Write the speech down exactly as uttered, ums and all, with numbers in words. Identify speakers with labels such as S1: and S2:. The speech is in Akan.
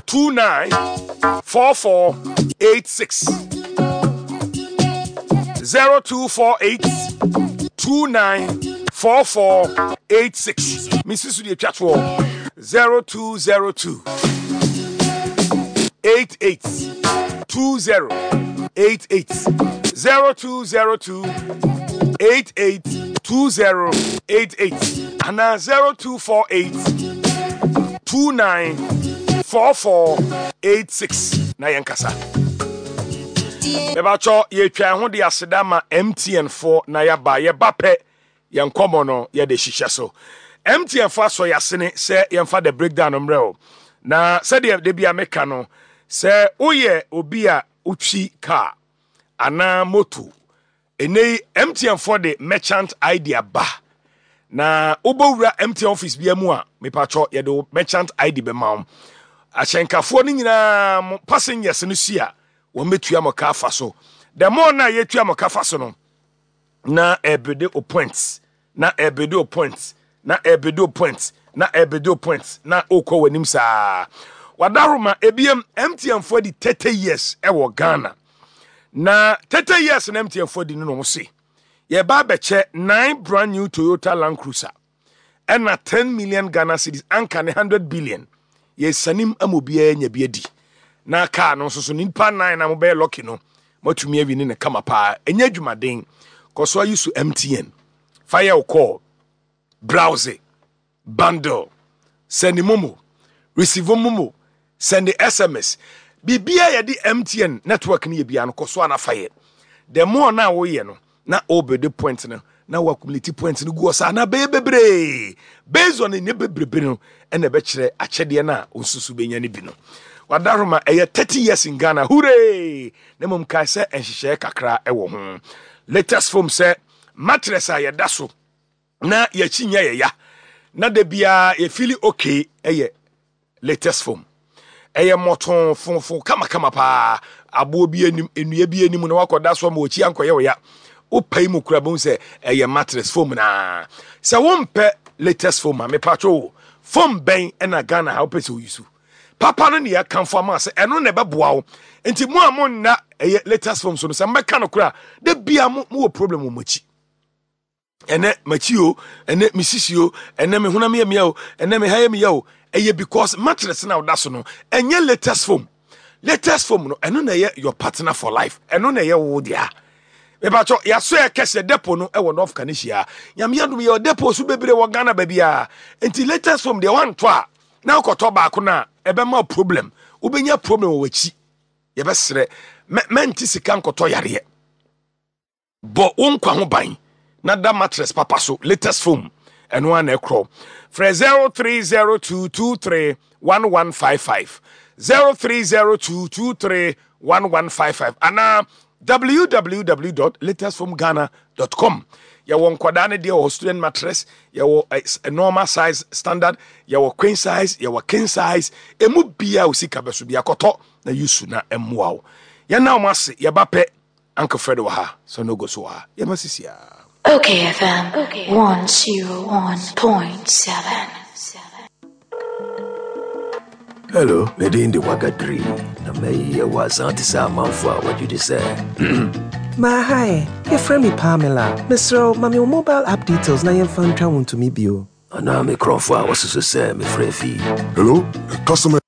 S1: two nine four four eight six zero two four eight two nine four four eight six. Misi so deɛ twa toɔ zero two zero two eight eight two zero eight eight zero two zero two eight eight two zero eight eight anaa zero two four eight two nine four four eight six na yɛn kasa. Mebatwɔ yɛtwa ho de aseda ma M T N foɔ na yɛaba. Yɛba pɛ, yɛn nkɔmmɔ no yɛde hyehyɛ so. M T N foɔ asɔ yɛasene sɛ yɛmfa The Breakdown no mmerɛ o. Na sɛdeɛ da bi a meka no sɛ woyɛ obi a wotwi car anaa moto, ɛnɛ yi M T N foɔ de merchant I D aba. Na wobɛwura M T N office bia mu a, mepatwɔ, yɛde wo merchant I D bɛma wo. Ahyɛnkafoɔ no nyinaa mo passengers no si a wɔn bɛtua mo ka afa so. The more na yɛtua mo ka fa so no, na ɛbɛde o points, na ɛbɛde o points, na ɛbɛde o points, na ɛbɛde o points, na okɔ w'anim saa. Wadaroma ebiem, M T N foɔ di thirty years ɛwɔ Ghana. Na thirty years na M T N foɔ di no na wɔn se yɛba abɛkyɛ nine brand new Toyota Land Cruiser ɛna ten million Ghana cedis, anka ne hundred billion. Yɛsanim ama obiara nya bi adi. Na kaa no nso so, nipa nine na mobɛyɛ lucky no, moatumi awi ne ne kama paa. Ɛnyɛ adwumaden. Kɔ so ayi so M T N fa yɛ wo call, browse, bundle, send MoMo, receive MoMo, send S M S, biribiara yɛde M T N network no yɛ biara no, kɔ so ana fa yɛ. The more na woyɛ no, na wobɛde point no na wo accumulate point no gu hɔ saa na bɛyɛ bebree. Based on ne bebrebe no, ɛna ɛbɛkyerɛ akyɛdeɛ no a nsusu bɛnya no bi no. Wadaroma ɛyɛ thirty years in Ghana, hooray! Na mmom kae sɛ nhyehyɛeɛ kakra ɛwɔ ho. Latest Foam sɛ mattress a yɛda so na yɛakyi nyɛ yɛya na da biara yɛ feel okay. Ɛyɛ Latest Foam, ɛyɛ mmɔtɔn fonfon kamakama paa. Aboɔ bi anim, nnua bi anim na wakɔda so ama wɔkyi ankɔyɛ wo ya. Wopai mu kura bɛhu sɛ ɛyɛ mattress foam. Naa sɛ wompɛ Latest Foam a, mepatwo wo, foam bɛn ɛna Ghana ha wopɛ sɛ woyi so papa no ne yɛkamfo ama sɛ ɛno na ɛbɛboa wo? Nti mo a monna ɛyɛ Latest Foam so no, sɛ mbɛka no kora da bia mo mowɔ problem wɔ mo akyi. Ɛnɛ makyi o, ɛnɛ mesisi o, ɛnɛ me honam yɛ mea o, ɛnɛ me ha yɛ mea o. Ɛyɛ because mattress na woda so no ɛnyɛ Latest Foam. Latest Foam no, ɛno na ɛyɛ your partner for life. Ɛno na ɛyɛ wo dea. Mebatɔ yɛaso yɛ kɛseɛ depot no ɛwɔ North Kaneshie. Nyame adom, yɛwɔ depot so bebree wɔ Ghana baabi. Nti Latest Foam deɛ, wantɔ a na wokɔtɔ baako no a, ɛbɛma problem. Wobɛnya problem wɔ w'akyi. Yɛbɛserɛ, mɛnte sika nkɔtɔ yareɛ. Bɔ wo nkwa ho ban na da mattress papa so. Latest Foam, ɛno a na ɛkorɔ. Frɛ zero three zero two two three one one five five, zero three zero two two three one one five five anaa w w w dot latestfoamghana dot com. Yɛwɔ nkwadaa no deɛ wɔ student mattress, yɛwɔ eh, normal size, standard, yɛwɔ queen size, yɛwɔ king size. Emu bia o sika bɛ so bi akɔtɔ na yusu na ɛmmoa wo. Yɛn na wɔn ase yɛba pɛ. Uncle Fred wɔ ha, so no go so wɔ ha. Yɛma sisi a.
S2: Okay F M one oh one point seven.
S3: Hello, me din de Wagadri na mɛyɛ wɔ asan te sɛ amanfo a wɔgye di sɛ
S4: Ma hi, yɛfrɛ me Pamela. Mesrɛ wo, ma me wo mobile app details na yɛmfa ntwa wo ntumi bio.
S3: Anaa me kurɔfo a wɔsoso sɛ mefrɛ fii.
S5: Hello, customer.